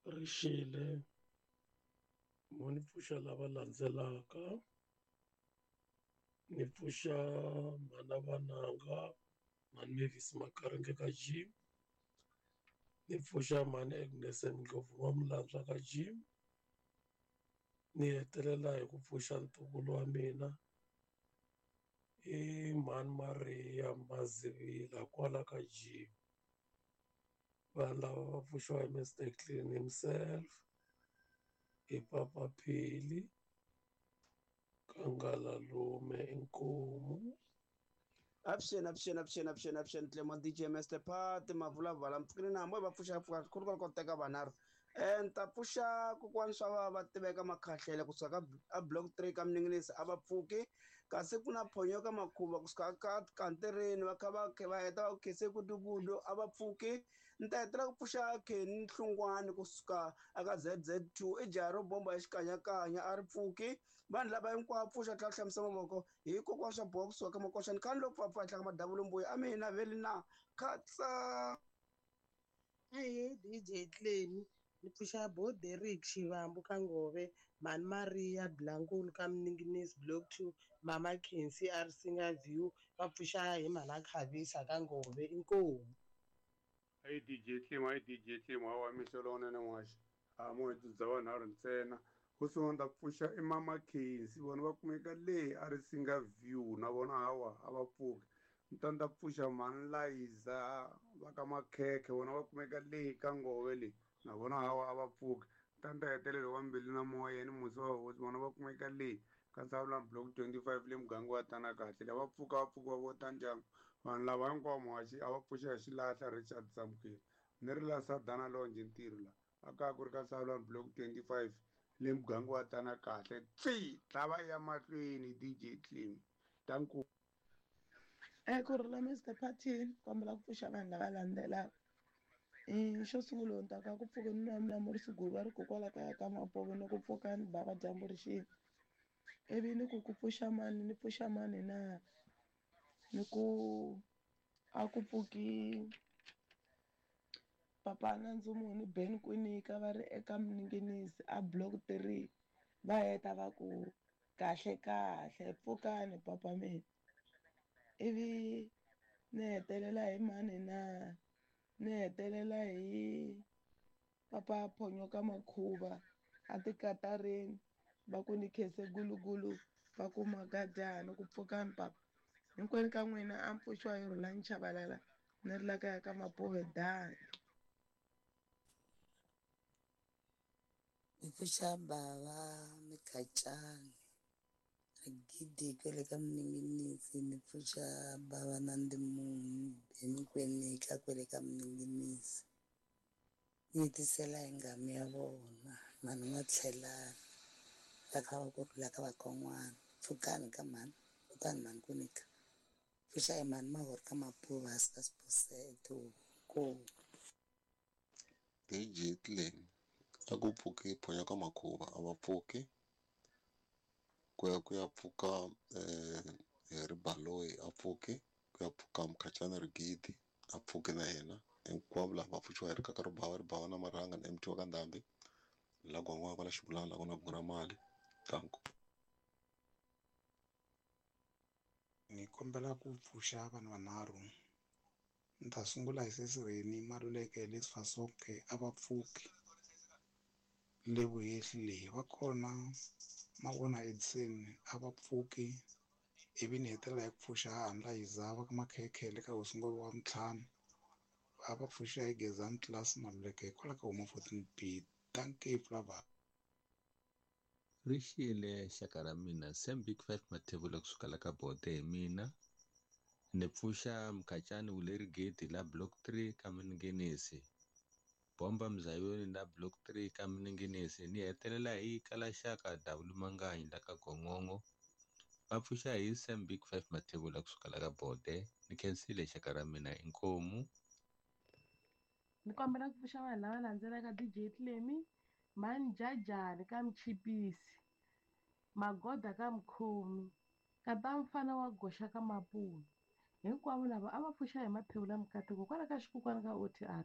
Ri xile mo ni pfuxa lava landzelaka ni pfuxa mhana vananga mhani Mavis Makaringe ka Jim ni pfuxa mhani Agnes Ndlovu wa Mulandzwa ka Jim ni hetelela hi ku pfuxa ntukulu wa mina i mhani Mariya Mazivila kwala ka Jim vanhu lava va pfuxiwa hi Mister Clean himself hi Papa Phili Kangalalume inkomu. Avuxeni avuxeni avuxeni avuxeni avuxeni Clement DJ Master Party mavulavala mpfukini na hambi va pfuxa pfuka khulu ko teka vanharhu ni ta pfuxa kokwani swa va va tiveka makhahlele kusuka ka a block 3 ka Mninginisi a va pfuki kasi ku na phonyo ka makhuva kusuka ka kantireni va kha va va heta va ku khese kudukudu a va pfuki ni ta hetelela ku pfuxa Kenny Hlungwani kusuka aka ZZ2 i jaha ro bomba ya xikanyakanya a ri pfuki vanhu lava hinkwavo pfuxa tlhela hlamusa mavoko hi kokwana swa boha kusuka ka makoxani khani loko pfapfa henhla ka madavula mbuya a mina veli na khatsa. Ahee DJ Clemi ni pfuxa bo Derrick Xivambu ka Ngove Mhani Maria Blankulu ka Mninginisi Block 2 Mama Khensi a Risinga View va pfuxa hi Mhana Khavisa ka Ngove inkomu. Hi DJ Clem, hi DJ Clem, hawa mixo lowunene n'waxi. A mo hi dzudza vanharhu ntsena. Ho sungula ni ta pfuxa i Mama Khensi, vona va kumeka le a Risinga View na vona hawa a va pfuki. Ni ta ni ta pfuxa Mhani Layiza va ka Makhekhe, vona va kumeka le ka Ngove le na vona hawa a va pfuki. Ni ta ni ta hetelela wa Mbilu na Moya ni Musi wa Hosi, vona va kumeka le ka Nsavulani Block 25 le muganga wa Tana Kahle. Lava pfuka va pfuka va vota ndyangu. Vanhu lava hinkwavo muhaxi a va pfuxa hi xilahla Richard Samukeli. Ni ri la Sadana Lonje ntirho la a kaya ku ri ka Nsavulani Block 25 le muganga wa Tana Kahle. Tsi tlava ya mahlweni DJ Clem. Danko. Ku rhula Mister Party kombela ku pfuxa vanhu lava landzelaka. Xo sungula ni ta ka ku pfuka ni nwa mulamuri Siguva ri kokwala kaya ka Mapovo ni ku pfuka ni bava dyambu ri xile. Ivi ni ku ku pfuxa mani ni pfuxa mani na ni ku a ku pfuki papa na Ndzumuni Ben Kwinika va ri eka Mninginisi a Block 3 va heta va ku kahle kahle pfukani papa mina. Ivi ni hetelela hi mani na ni hetelela hi papa Phonyo ka Makhuva a tikatarini va ku ni khense gulugulu va ku magadyani ku pfukani papa. Hinkwenu ka n'wina a mpfuxiwa hi Rhulani Chabalala ni ri la kaya ka Mapuve dani. Ni pfuxa bava Mikhacani Rigidi kwele ka Mninginisi ni pfuxa bava na Ndimuni Benny Kwenika kwele ka Mninginisi ni hetisela hi nghamu ya vona mhani N'watlhelani va kha va kurhula ka vakon'wana pfukani ka mhani kutani mhani Kwinika pfuxa hi mhani Mahori ka Mapuva hansi ka Siphosethu ko. DJ Clem a ku pfuki Phonyo ka Makhuva a va pfuki ku ya ku ya pfuka hi Ribaloyi a pfuki ku ya pfuka Mkhacani Rigidi a pfuki na yena hinkwavo lava va pfuxiwa hi rikaka ribava ribava na marhanga na MT wa ka Ndhambi la gwangwa kwala xibulana la ku na gura mali danko. Ni kombela ku pfuxa vanhu vanharhu. Ni ta sungula hi sesi Reni Maluleke le Sifasonke a va pfuki le vuhehli leyi va kona Mavona Edison a va pfuki ivi ni hetelela hi ku pfuxa Handla Yiza va ka Makhekhe le ka hosi Ngove wa Mtlhanu a va pfuxa hi Gezani Class Maluleke hikwalaho ka huma 14B. Dankie Flava. Ri xile xaka ra mina Sam Big 5 Mathebula kusuka la ka Bote hi mina ni pfuxa Mkhacani Wulerigeti la Block 3 ka Mninginisi Bomba Mzayoni la Block 3 ka Mninginisi ni hetelela hi kala xaka W Manganyi la ka Gongongo va pfuxa hi Sam Big 5 Mathebula kusuka la ka Bote ni khensile xaka ra mina inkomu. Ni kombela ku pfuxa vanhu lava landzelaka DJ Clemi Manjajani ka Mchipisi Magoda ka Mkhomi kata mfana wa goxa ka Mapuni hinkwavo lava a va pfuxa hi maphewula mukateko kwala ka xikukwana ka OTR